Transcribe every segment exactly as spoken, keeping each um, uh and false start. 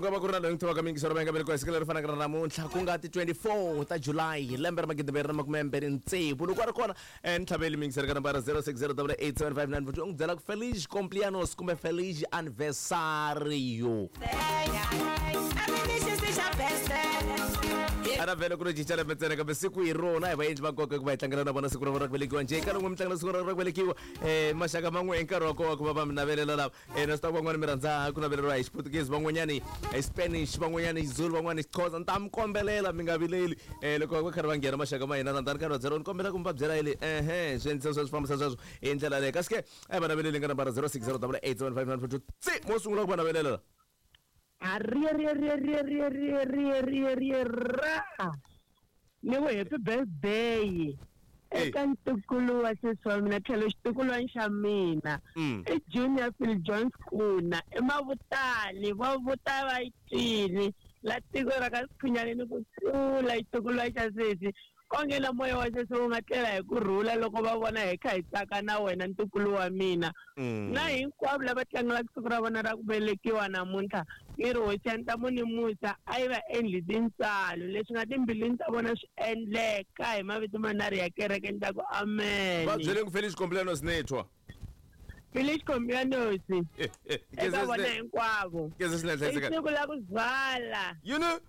nga va ku ri na loyi n'wi tivaka mingisero va nga velekiwa hi siku leri fanaka na namuntlha ku nga ti twenty-four ta July lembe ra magidi mbirhi na makume mbirhi tsevu loko a ri kona eh, ni tlhaveli mingisero ka nambara zero six zero double eight seven five nine four two u n'wi byela ku feliz cumpleaños kumbe feliz aniversario. A na vhele ku ri cinca lembe ntsena kambe siku hi rona hi vaendli va nkoka ku va hi tlangela na vona siku ra vona ra ku velekiwa njhe ka loko mi tlangela siku ra ra ku velekiwa um maxaka man'we hi nkarhi wa kona ku va va mi navelela lava um na swi ta van'wani mi rhandza ku naveleriwa hi Xiputukezi van'wanyani hi Spanish van'wanyani hi Zulu van'wani hi Xhosa ni ta mi kombelela mi nga vileli um loko va karhi va nghena maxaka ma hina rhandzani karhi va byela ni kombela ku mi va byela yele ehe swi endlisa sweswo swi fambisa sweswo hi ndlela leyo kasi ke a hi va naveleli nga nambara zero six zero double eight seven five nine four two tsi mo sungula ku va navelela. Ri ri ri ri ri ri ri ri ri ra ni ku happy birthday eka ntukulu wa sesi wa mina tlhelo xitukulwana xa mina i Junior Phil Jones Kuna i Mavutani va vuta va yi twini la tiko ra ka Sikhunyani ku tlula xitukulwana xa sesi onge na moya wa sesi wu nga tlela hi ku rhula loko va vona hi kha hi tsaka na wena ntukulu wa mina na hinkwavo lava tlangelaka siku ra vona ra ku velekiwa namuntlha ni ri hosi ya ntamu ni musa a yi va endli tintswalo leswi nga timbilwini ta vona swi endleka hi mavito manharhu ya kereke ni ta ku amen. Va byele ku feliz cumpleaños netwa Feliz cumpleaños eka vona hinkwavo i siku la ku zala you know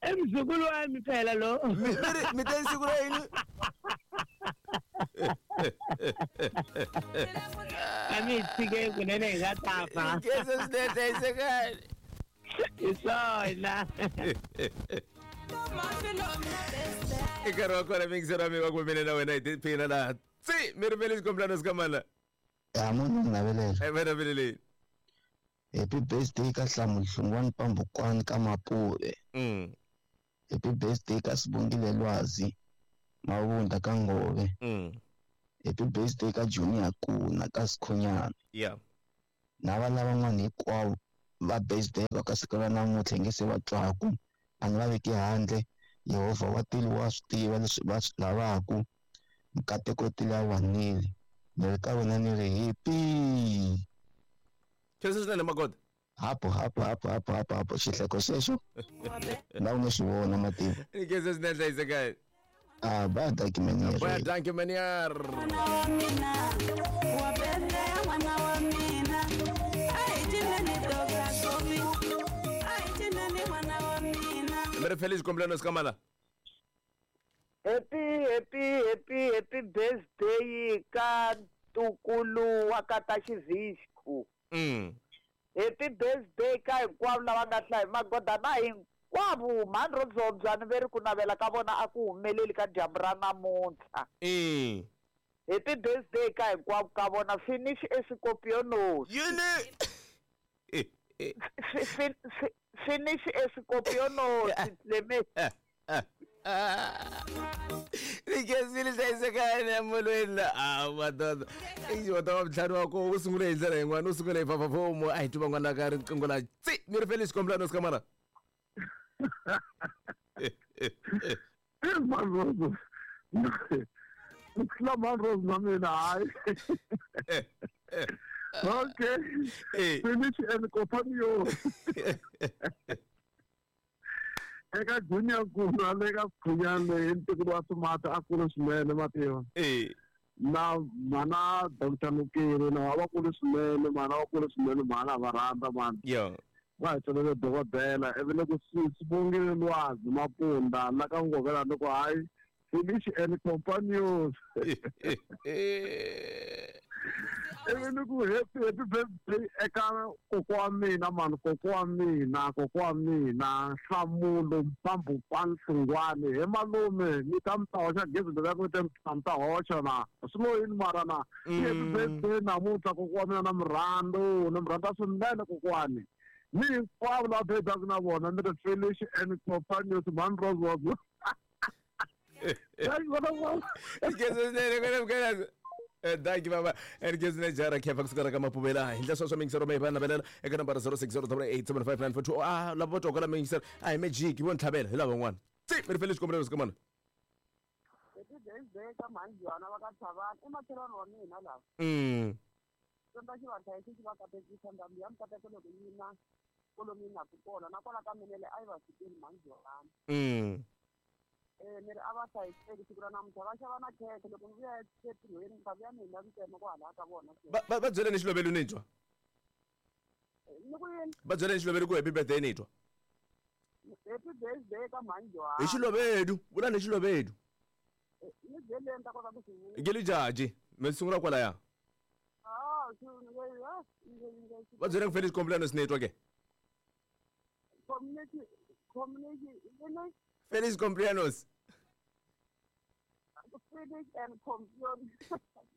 i mzukulu wa mi phela lo mi mi ta siku ra yini a mi tshike kunene hi nga ta fa hi swona i nkarhi wa kona mingisero wa mi va ku mina na wena hi tiphina laha tsi mi ri feliz cumpleaños ka mana ya munhu ni navelela e va naveleleni. Happy birthday ka Hlamu Hlungwani Pambukwani ka Mapuve. Mm. Happy birthday ka Sibongile Lwazi Mavunda ka Ngove. Mm. Happy birthday ka Junior Kuna ka Sikhunyana. Yeah. Na vana van'wana hinkwavo va birthday va ka siku ra namuntlha nge se va twaku a ni va veki handle Yehovha wa tilo wa swi tiva leswi va swi lavaku mikateko tilo ya wanile ni ri ka wena ni ri happy. Khensa swinene Magoda. Hapo hapo hapo hapo hapo hapo xihleko xexo na u nga xi vona matimu. Ni khensa swinene hlayisekani. Ah, baya dankie meneer. Baya dankie meneer. Mi ri feliz cumpleaños ka mana. Happy happy happy happy birthday ka ntukulu wa ka ta Xivhisku. Mm. Happy birthday ka hinkwavo lava nga hlaya Magoda na hinkwavo mhani ro dzobya ni ve ri ku navela ka vona a ku humeleli ka dyambu ra namuntlha. Mm. Happy birthday ka hinkwavo ka vona finish escorpionos. Yini? Finish escorpionos leme. Ni khensile hlayisekani emolweni la a madoda i wata wa ntlhanu wa ko u sungule hi ndlela yin'wana u sungule hi fafafomo a hi twi van'wana ka riqingho la tsi mi ri feliz cumpleaños ka mana. Mani na mina hayi. Okay. Finish and companion. Eka Junior Kuna le ka Sikhunyana hi ntukulu wa Sumata a kulu swinene mativa. Na mana Doctor Nukiri na va kulu swinene mana va kulu swinene mana va rhandza mani. Va hi tsalele dokodela ivi loko Sibongile Lwazi Mapunda la ka Ngovela loko hayi finish and companions. Ivi ni ku happy happy birthday eka kokwa wa mina mani kokwa wa mina kokwa wa mina Nhlamulo Mpambukwana Hlungwani he malume ni ta mi ta hoxa gezi leri ku te mi ta hoxa na swi lo yini mara na happy birthday namuntlha kokwa wa mina na mi rhandzu ni mi rhandza swinene kokwani ni hinkwavo lava birthday na vona ni ri finish and companions mani Rose. Dankie baba. En khensa jara khefa kusuka ka Mapuvela hi ndlela sweswo mingisero mi va navelela eka nambara zero six zero eight seven five nine four two ah lava vo twaka la mingisero a hi magic vo ntlhavela hi lava van'wana tsi mi ri feliz cumpleaños ka mana. Happy birthday ka mhani Joana va ka Thavani i makhelwani wa mina lava. Mm. Tsundza xi va hlayisa xi va katekisa ndhambi ya mikateko loko yi na Kolomi na ku kona na kwala ka Menele a yi va fikeli mhani Johanna. Mm. Eh ni ri a va hlayiseki siku ra namuntlha va xava na khekhe loko ni vuya entirhweni ni ta vuya ni hina ntsena kwalaya ka vona. Va va va byeleni xilovelo ni twa. Ni ku yini? Va byeleni xilovelo ku happy birthday ni twa. Happy birthday ka mhani Johanna. Hi xilovedu, vula ni xilovedu. Ni byeleni ta kota ku swi vula. Ngeli jaji, mi sungula kwalaya. Ah, va byeleni ku feliz cumpleaños ni twa ke. Community community Feliz cumpleaños. Finish and cumpleaños.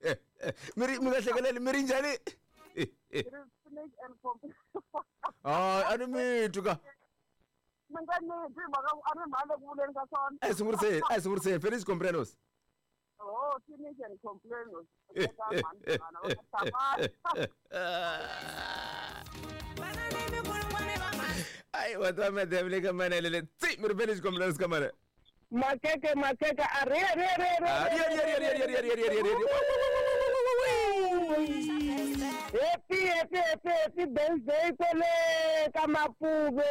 Eh eh miri mi nga hlekeleli miri njhani? Finish and cumpleaños. Ah, a ni mi twi ka. Mi nga ni twi mhaka a ni mhani le ku vuleni ka swona. A hi sunguriseni, a hi sunguriseni Feliz cumpleaños. Oh, finish and cumpleaños. Eka mhani Johanna va nga hlamali. Ai wa ta me devle ka mana le tsi mi ri feliz cumpleaños ka mana. Makeke makeke a ri ri ri ri. Ri ri ri ri ri ri ri ri ri. Happy happy happy happy birthday kwele ka Mapuve.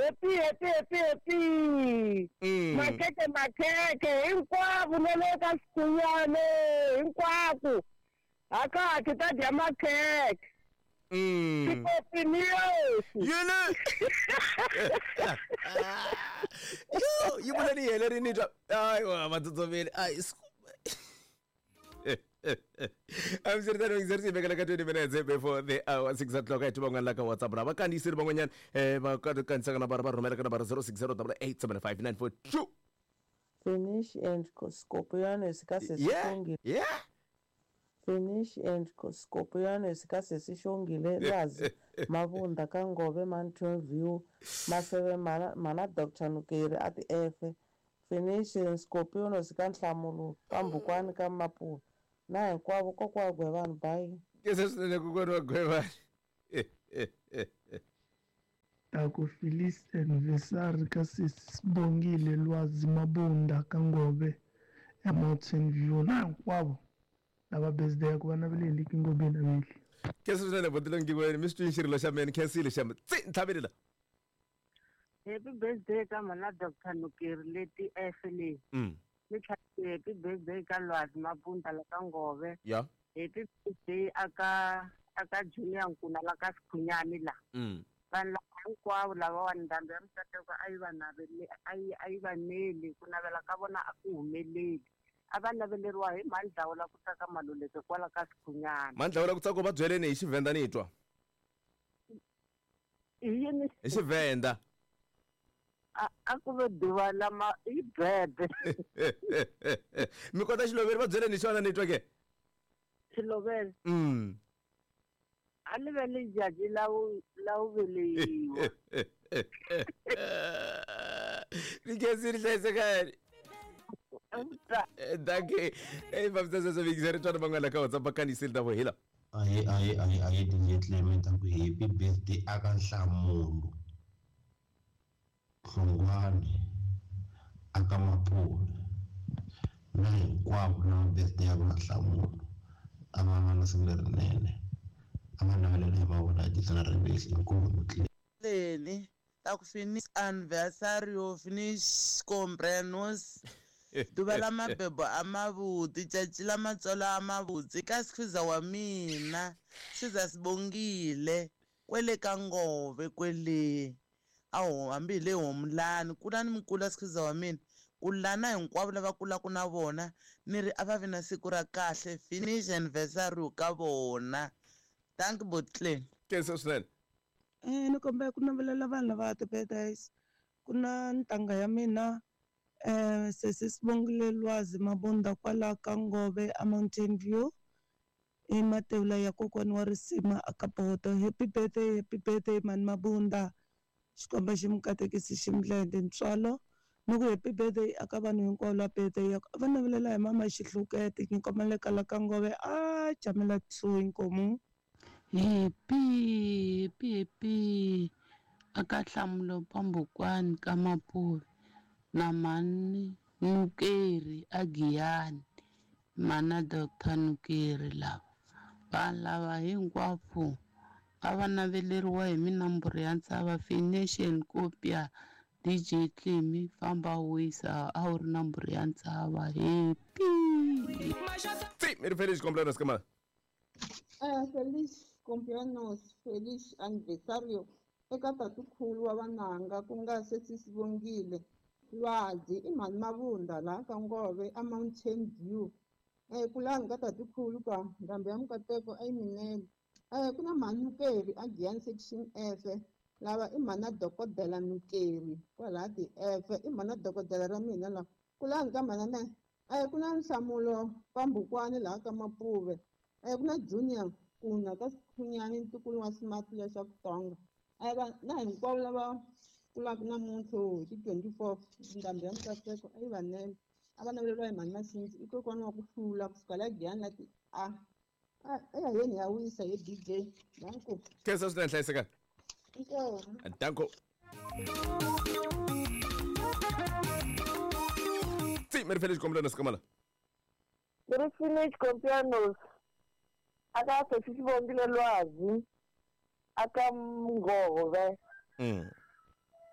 Happy happy happy happy. Makeke makeke hinkwavo na le ka Sikhunyane hinkwako. Haka ti ta dya makhekhe. Mm. Yini? Yo, yi vula ni hele ri ni twa. Ai wa matsotsoveli. Ai I'm sure that we vekela ka twenty minutes before the hour six o'clock. Ai van'wana la ka WhatsApp ra va kandziyisile van'wanyana eh va kandziyisaka na va rhumela ka nambara zero six zero eight eight seven five nine four two. Finish and Scorpion ka Yeah. Yeah. Finish and Scorpion ka sesi Xongile Lwazi Mabunda ka Ngove Mountain View Maseve mana mana Doctor Nukeri a ti F Finish and Scorpion ka Nhlamulo ka Mbukwani ka Mapuve na hinkwavo kokwa wa Gwevani bayi. Ke se swinene kokwana wa Gwevani. Taku Feliz anniversary ka sesi Sibongile Lwazi Mabunda ka Ngove ya Mountain View na hinkwavo lava birthday ku va naveleli ki ngobeni aveli. Ke se swinene botilo ngiweni mi swi twini xirilo xa mina khensile xa mina tsi ntlhaveli la. Happy birthday ka mana Doctor Nukeri leti F leyi. Mm. Ni tlhela happy birthday ka Lwazi Mabunda la ka Ngove. Yeah. Happy birthday aka aka Junior Nkuna la ka Sikhunyani la. Mm. Vanhu lava hinkwavo lavawani ndhambi ya mikateko a yi va naveli a yi a yi va neli ku navela ka vona a ku humeleli. A va naveleriwa hi Mandlawula ku tsaka Maluleke kwala ka Sikhunyana. Mandlawula ku tsaka va byeleni hi Xivhenda ni twa. I yini? Hi Xivhenda. A a ku ve duva lama i bebe. Mi kota xiloveri va byeleni hi xona ni twa ke? Xiloveri? Mm. A ni ve ni jaji la wu la wu velekiwa. Ni khensile hlayisekani. Dankie. Hey, fambisa sweswo vingizeri tswana van'wana la ka WhatsApp va kandziyisile ta vo hila. Ahe ahe ahe ahe D J Clement a ku happy birthday aka Nhlamulo Hlongwane aka Mapuve na hinkwavo lava birthday ya vona Nhlamulo a va va na siku lerinene a va navelela hi va vona Jason Rivesi inkomu Clement. Leni ta ku finish anniversario finish cumpleaños duva la mabebo a mavuti caci la matsolo a mavutsi ka sikhuza wa mina siza Sibongile kwele ka Ngove kwele awu hambi hi le Homulani kula ni mikula sikhuza wa mina kulana hinkwavo lava kulaka na vona ni ri a va vi na siku ra kahle finish anniversary ka vona. Thank you Botleng. Khensa swinene. Eh ni kombela ku navelela vanhu lava ti-birthdays ku na ntanga ya mina eh sesi Sibongile Lwazi Mabunda kwala ka Ngove a Mountain View i matewula ya kokwani wa risima a ka Poto. Happy birthday, happy birthday mani Mabunda. Xikwembu xi mi katekisi xi mi endle ntswalo. Ni ku happy birthday aka vanhu hinkwavo la birthday ya va navelela hi mama Xihlukete nyikomela kala ka Ngove a jamela two inkomu. Happy happy happy aka Nhlamulo Pambukwani ka Mapuve na mani Nukeri a Giyani mana Doctor Nukeri lava vanhu lava hinkwavo A va naveleriwa hi minamburu ya ntshava Fination Kopia D J Tlimi famba wisa a wu ri namburu ya ntshava happy. Tsi mi ri feliz cumpleaños ka mara. Eh feliz cumpleaños, feliz aniversario eka tatukhulu wa vananga ku nga sesi Sibongile Lwazi i mhani Mavunda laha ka Ngove a Mountain View. Eh kulani ka tatukhulu ka ndhambi ya Mukateko a yi minele. Eh ku na mhani Nukeri a Giyani section F lava i mhana dokodela Nukeri kwalaha ti-F i mhana dokodela ra mina la kulani ka mhana na eh ku na Nhlamulo Pambukwani laha ka Mapuve eh ku na Junior Kuna ka Sikhunyani ntukulu wa Smart leswaku Tonga eh va na hinkwavo lava kulaka namuntlha hi ti twenty-four ndhambi ya Mukateko a yi vanele a va naveleriwa hi mhani Masintsi i kokwana wa ku hlula kusuka la Giyani la ti a eyayeni ya wisa hi D J danko. Khensa swinene hlayisekani. Inkomu. Danko. Tsi mi ri feliz cumpleaños ka mara. Ni ri feliz cumpleaños aka sesi Sibongile Lwazi aka Ngove. Mm.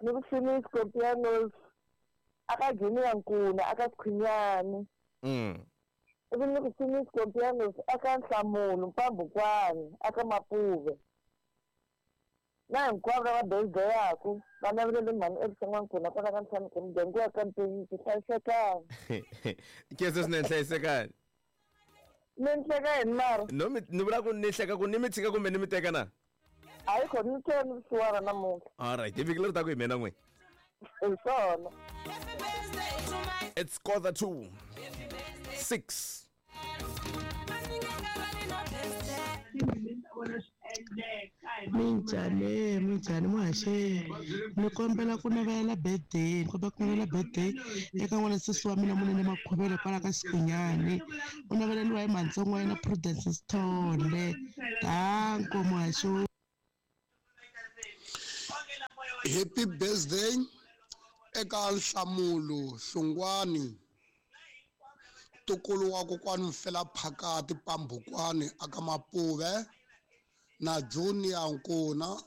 Ni ri feliz cumpleaños aka Junior Nkuna aka Sikhunyani. Mm. Ivi ni ku feliz cumpleaños aka Nhlamulo Mpambukwani aka Mapuve. Na hinkwavo lava birthday-yaku va navelele mhani Elisa N'wankuna kwala ka ntlhanu ku muganga wa ka Mpeyisi hlayisekani. Khensa swinene hlayisekani. Ni hleka yini mara? No mi ni vula ku ni hleka ku ni mi tshika kumbe ni mi teka na? Hayi kho ni tlhela ni vusiwana namuntlha. Alright, hi vhiki leri taka hi mina n'we. Hi swona. It's quarter to six. Minjhani minjhani muhaxeri ni kombela ku navela birthday ni kombela ku navela birthday eka n'wana sesi wa mina Munene Makhuvele kwala ka Sikhunyani u naveleriwa hi mhantsongo wa yena Prudence Sithole. Danko muhaxi. Happy birthday eka Nhlamulo Hlungwani ntukulu wa kokwani Mfela Phakati Pambukwani aka Mapuve na Junior Nkuna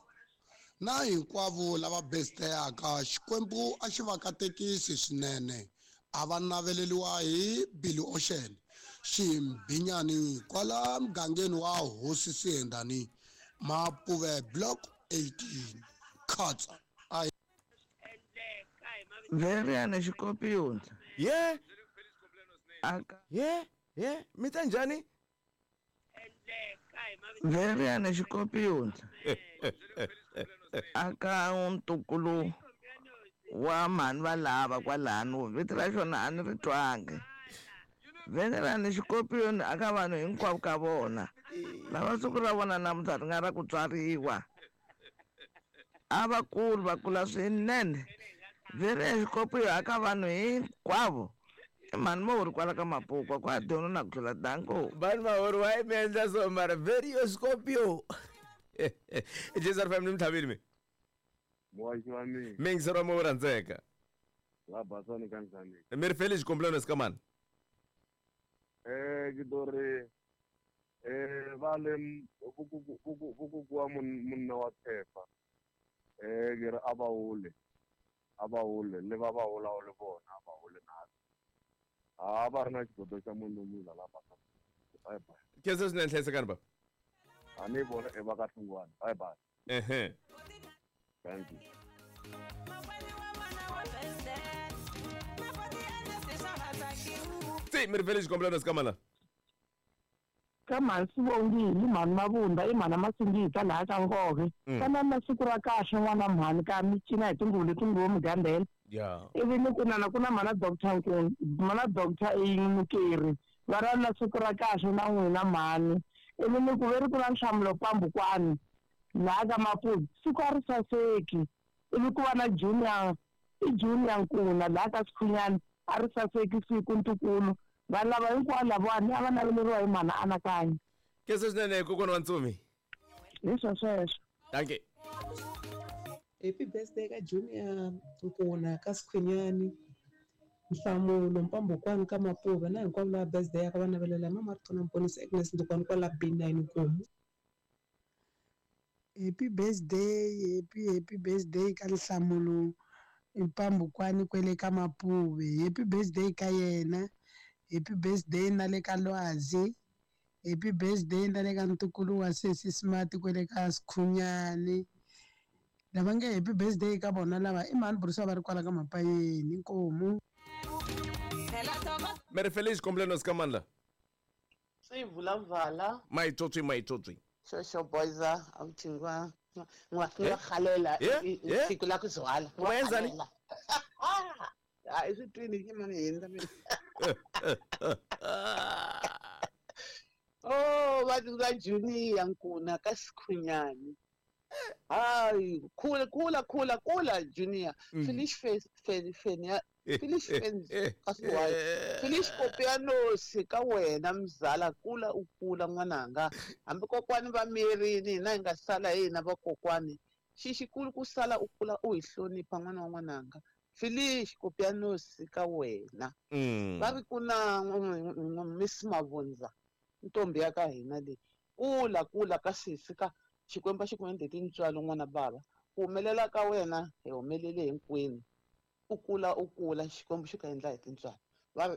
na hinkwavo lava birthday-aka. Xikwembu a xi va katekisi swinene a va naveleriwa hi Billy Ocean Ximbinyani kwala mugangeni wa Hosi Siyendani Mapuve block eighteen Khatsa. Veriana Xikopiyoni. Yeah. Aka Yeah, yeah, mi ta njhani? Veriana Xikopiyoni. Aka ntukulu wa mhani va lava kwalano vito ra xona a ni ri twangi. Venerani Xikopiyoni aka vanhu hinkwavo ka vona lava siku ra vona namuntlha ri nga ra ku tswariwa a va kulu va kula swinene. Veriana Xikopiyoni aka vanhu hinkwavo i mhani Mahori kwala ka Mapukwa kwa dyona na ku tlula danko. Vanhu Mahori wa yi mi endla so mara Verio Scorpio. J S R F M ni mi tlhavile mi. Muhaxi wa mina. Mi yingiseri wa mo rhandzeka. La basani ka njhani? Mi ri feliz cumpleaños ka mani? Eh ke to ri eh va le vukuku wa munna wa Tshepa. Eh ke re a va hole. A va hole le va va hola le vona a va hole na. A va ri na xigodo xa munhu mula la basani. Bye bye. Khensa swinene hlayisekani baba. A ni vona e va ka Hlungwani. Bye bye. Ehe. Thank you. Tsi mi ri feliz cumpleaños ka mara. Ka mhani Sibongile mhani Mavunda i mhana Masingita laha ka Ngove. Ka na siku ra kahle n'wana mhani ka mi cina hi tinguvu leti nguvo mugandela. Yeah. Ivi ni ku nana ku na mhana Doctor Nkuna mhana Doctor Nukeri va ra na siku ra kahle na n'wina mhani. Ivi ni ku ve ri ku na Nhlamulo Pambukwani laha ka Mapuve siku a ri saseki. Ivi ku va na Junior i Junior Nkuna laha ka Sikhunyani a ri saseki siku ntukulu. Vanhu lava hinkwavo lavawani a va naveleriwa hi mhana Anakanya. Khensa swinene kokwana wa Ntsumi. Hi swo sweswo. Dankie. Happy birthday ka Junior Nkuna ka Sikhunyani Nhlamulo Mpambukwani ka Mapuve na hinkwavo lava birthday ya ka va navelela mama Ritona Mponisi Agnes Ndukwani kwala B nine Nkomu. Happy birthday, happy happy birthday ka Nhlamulo Mpambukwani kwele ka Mapuve. Happy birthday ka yena. Happy birthday na le ka Lwazi. Happy birthday na le ka ntukulu wa sesi Smart kwele ka Sikhunyani. Lava nge happy birthday ka vona lava i mhani Bruce va ri kwala ka Mapayeni inkomu. Mary Felice cumpleaños ka mani la? Sivulavala. Maitsotsi maitsotsi. Shosho boyza awuthingwa ngwa khalela siku la kuzwala. Wenzani? Hayi isitwini ke manje yini mina. Oh, bathi ka Junior Nkuna ka Sikhunyani. Hayi, khula khula khula khula Junior. Finish face fenya Finish fence kasiwayo. Finish kopianos ka wena mzala kula ukula n'wananga. Hambi kokwani va mirini hina hi nga sala hina vakokwani. Xixikulu ku sala ukula u hi hlonipha n'wana wa n'wananga. Finish kopianos ka wena. Va ri ku na Miss Mavundza ntombi ya ka hina leyi. Kula kula ka sisi ka Xikwembu xi ku endle tintswalo n'wana bava. Ku humelela ka wena hi humelele hinkwenu. Ukula ukula Xikwembu xi ku endla hi tintswalo. Va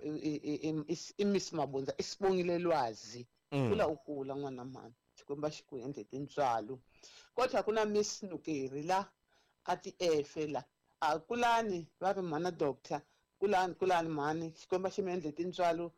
i Miss Mabundza i Sibongile Lwazi. Kula ukula n'wana mhani. Xikwembu xi ku endle tintswalo. Kodwa ku na Miss Nukeri la a ti efe la. A kulani va ri mhana doctor. Kulani kulani mhani Xikwembu xi mi endle tintswalo.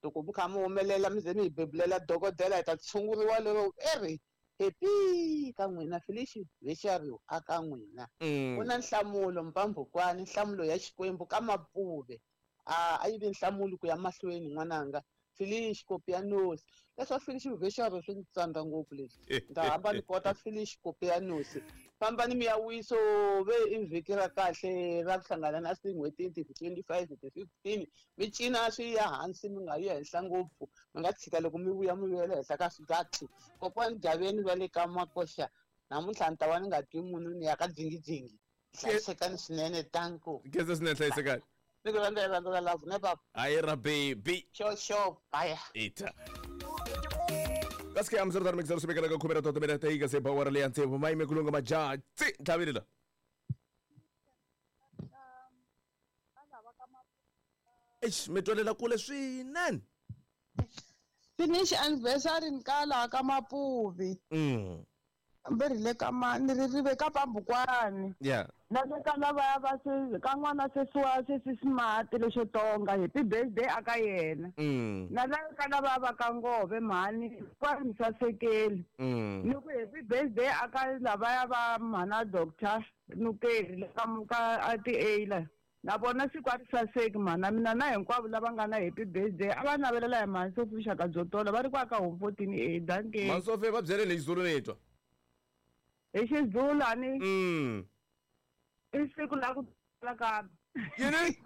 Loko mi kha mi humelela mi ze mi hi bebulela dokodela hi ta tshunguriwa lero eri happy ka n'wina Felicia Vexariwa a ka n'wina. Ku na Nhlamulo Mpambukwani nhlamulo ya Xikwembu ka Mapuve. A a yi vi nhlamulo ku ya mahlweni n'wananga. Felicia Kopianos. Leswa Felicia Vexariwa swi ndzi tsandza ngopfu leswi. Ni ta hamba ni kota Felicia Kopianos. Fambani mi ya wiso ve i vhiki ra kahle ra ku hlangana na tin'hweti ti twenty-five ti fifteen mi cina swi ya hansi mi nga yi henhla ngopfu mi nga tshika loko mi vuya mi vuyela henhla ka swigatu. Kokwani Gaveni va le ka Makoxa namuntlha ni ta va ni nga twi munhu ni ya ka dzingidzingi. Hlayisekani swinene tanku. Khensa swinene hlayisekani. Ni ku rhandza hi rhandza ra love ne baba. Hayi ra baby. Sure sure bye. Ita. Kasi am zero mix zero sibekela ka khumera toto mina tayika se power le antse mai me kulunga maja tsi ntlhavile la. Eish mi twalela kule swinene. Finish anniversary nkala ka Mapuvi. Mm. Mberi le ka mani ri rive ka Pambukwani. Yeah. Na le ka lava va se ka n'wana sesiwa sesi Smart lexo tonga happy birthday aka yena. Mm. Na la ka lava va ka Ngove mhani kwa mi sasekeli. Mm. Ni ku happy birthday aka lava va mhana doctor Nukeri le ka ka a ti A la. Na vona siku a ri saseki mhana mina na hinkwavo lava nga na happy birthday a va navelela hi mhani Sophie vuxaka byo tola va ri kwa ka home fourteen A danke. Mhani Sophie va byele hi Xizulu ni twa. Hi Xizulu a ni. Mm. I siku la ku dwala ka. Yini?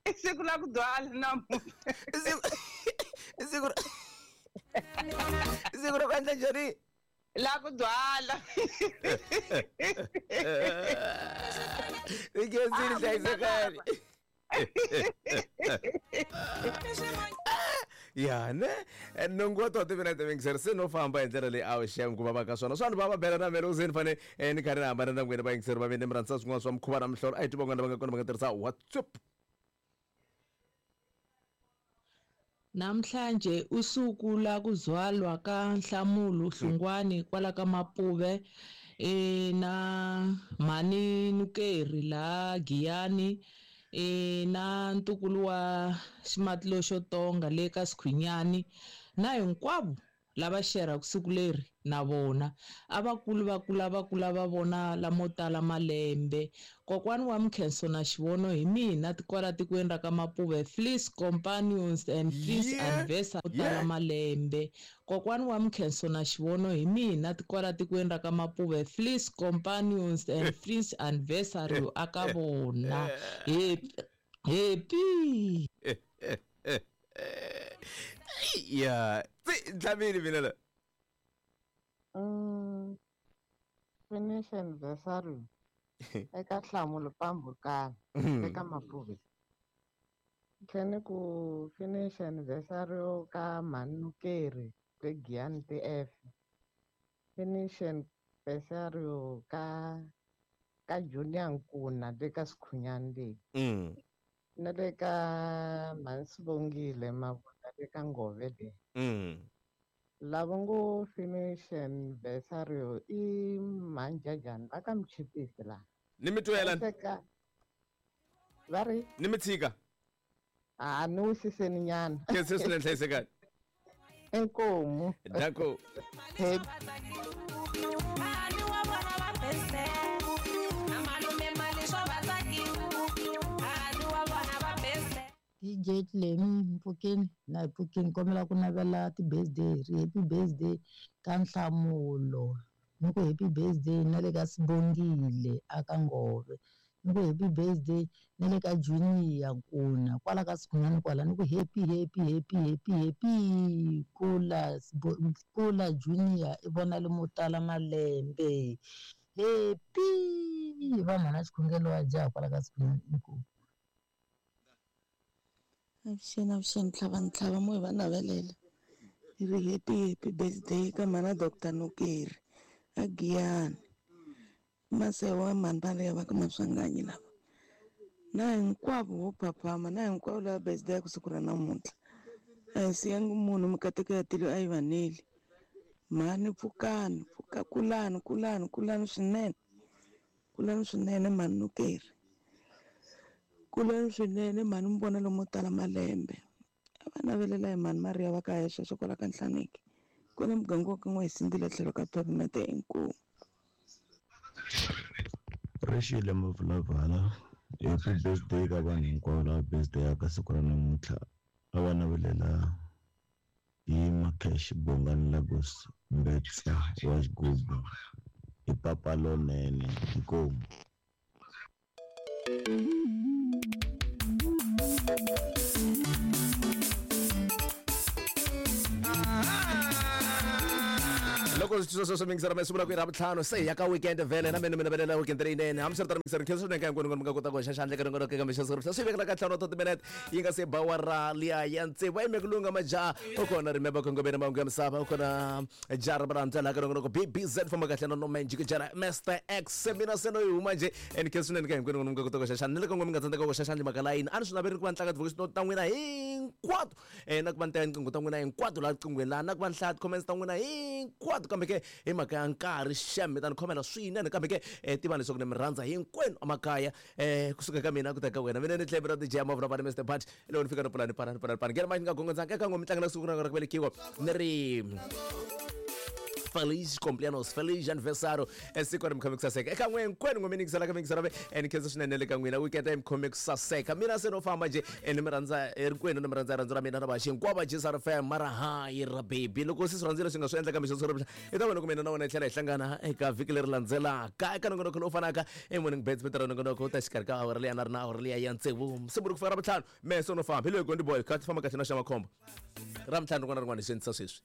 I siku la ku dwala namuntlha. I siku I siku I siku ra ku endla njhani? La ku dwala. I khensile hlayisekani. Ya ne nongo wa toto mina ta mingiseri se no famba hi ndlela leyi a wu xem ku vava ka swona swa ni va va bela na mele u se ni fane ni karhi ni hambana na n'wina vayingiseri va mina mi rhandza swin'wana swa mukhuva na mihlolo a hi twi van'wana va nga kona va nga tirhisa WhatsApp. Namhlanje usuku la kuzalwa ka Nhlamulo Hlungwani kwala ka Mapuve e na mhani Nukeri la Giyani e na ntukulu wa Ximatilo xo tonga le ka Sikhunyani na hinkwavo lava xeraka siku leri na vona a vakulu va kula va kula va vona lamo tala malembe. Kokwani wa Mkhenso na Xivono hi mina kwala tikweni ra ka Mapuve Fleece Companions and Fleece Yeah, Anniversary tala yeah. malembe. Kokwani wa Mkhenso na Xivono hi mina kwala tikweni ra ka Mapuve Fleece Companions and Fleece Anniversary aka vona. Happy happy. Ya tsi ntlhavile mina la. Mm, finish anniversary eka Nhlamulo Pambukani eka Mapuve. Tlhela ku finish anniversary ka mhani Nukeri le Giyani T F. Finish anniversario ka ka Junior Nkuna le ka Sikhunyani le. Mm. Na le ka Mhansibongile Mabunda le ka Ngove le. Mm. Lava ngo finish anniversario i Mhanjajani va ka Mchipisi la. Ni mi twela. Va ri? Ni mi tshika. A ni wisiseni nyana. Khensa swinene, hlayisekani. Inkomu. Danko. D J Tlemi mpfukeni na hi pfukini kombela ku navela ti-birthday ri happy birthday ka Nhlamulo ni ku happy birthday na le ka Sibongile aka Ngove ni ku happy birthday na le ka Junior Nkuna kwala ka Sikhunyani kwala ni ku happy happy happy happy happy kula kula Junior i vona le mo tala malembe happy va mhana xikhongelo wa jaha kwala ka Sikhunyani inkomu. Avuxeni avuxeni ntlhava ntlhava mo hi va navelela hi ri happy happy birthday ka mhana Doctor Nukeri a Giyani Masewa mhani va leya va ka Maswanganyi lava na hinkwavo vo phaphama na hinkwavo lava birthday ya ku siku ra namuntlha a hi siyangi munhu mikateko ya tilo a yi vaneli mhani pfukani pfuka kulani kulani kulani swinene kulani swinene mhani Nukeri kulani swinene mhani mi vona lomo tala malembe a va navelela hi mhani Maria va ka hexe kwala ka Nhlaneki kwala muganga wa ka N'wahisindile tlhelo ka pavement inkomu. Rixile Mavulavala, happy birthday ka vanhu hinkwavo lava birthday ya ka siku ra namuntlha a va navelela hi Makhesh Bongani Lagos Mbetsa wa Xigubu hi papa lonene inkomu. Loko swi swi swi mingisela masiku la ku ira vutlhanu se ya ka weekend vhele na mina mina velela weekend leyinene hambiswiritano mingisela khensa swinene ka hinkwenu mi nga kota ku hoxa xandla eka rin'wana eka mixo swi vekela ka ntlhanu wa thirty minutes yi nga se ba wa liya ya tsevu a yime ku lunga majaha u kona remember khongomeni mahungu ya misava u kona jaha ra rhandza laha ka rin'wana B B Z famba kahle na no Jikijela Mister X mina se no yi huma njhe and khensa swinene ka hinkwenu mi nga kota ku hoxa xandla ni le ka n'we mi nga tsandzeka ku hoxa xandla mhaka layini a ni swi naveli ku va ni tlanga ti-voice note ta n'wina hinkwato um na ku va ni teka tinqingho ta n'wina hinkwato laha riqinghweni laha na ku va ni hlaya ti-comments ta n'wina hinkwato kambe ke hi mhaka ya nkarhi xem mi ta ni khomela swinene kambe ke um tivani leswaku ni mi rhandza hinkwenu emakaya um kusuka ka mina ku ta ka wena mina ni tlhela ra D J Mavula vana Mister Pat loko ni fika ni pfula ni pana ni pana ni pana ngena manje ni nga gongondzanga eka n'we mi tlangela siku ra ku velekiwa ni ri Feliz cumpleaños, feliz aniversário. Siku ri mi khome ku saseka. Eka n'we hinkwenu n'we mi yingiselaka mi yingisela and khensa swinene le ka n'wina weekend mi khome ku saseka. Mina se no famba nje ni mi rhandza hinkwenu ni mi rhandza rhandzu ra mina na vaxi hinkwavo va J S R F M mara hayi ra baby loko se swi rhandzile swi nga swi endla kambe xo swi i ta vona ku mina na wena hi tlhela hi hlangana eka vhiki leri landzelaka eka nongonoko lowu fanaka e morning bets vito ra nongonoko u ta xikarhi ka awara liya na ri na awara liya ya tsevu siku ri ku fika ra vutlhanu mehe se no famba hi loyi Gondi Boy kha ti famba kahle na xa makhombo ra mintlhanu rin'wana na rin'wana hi swi endlisa sweswi.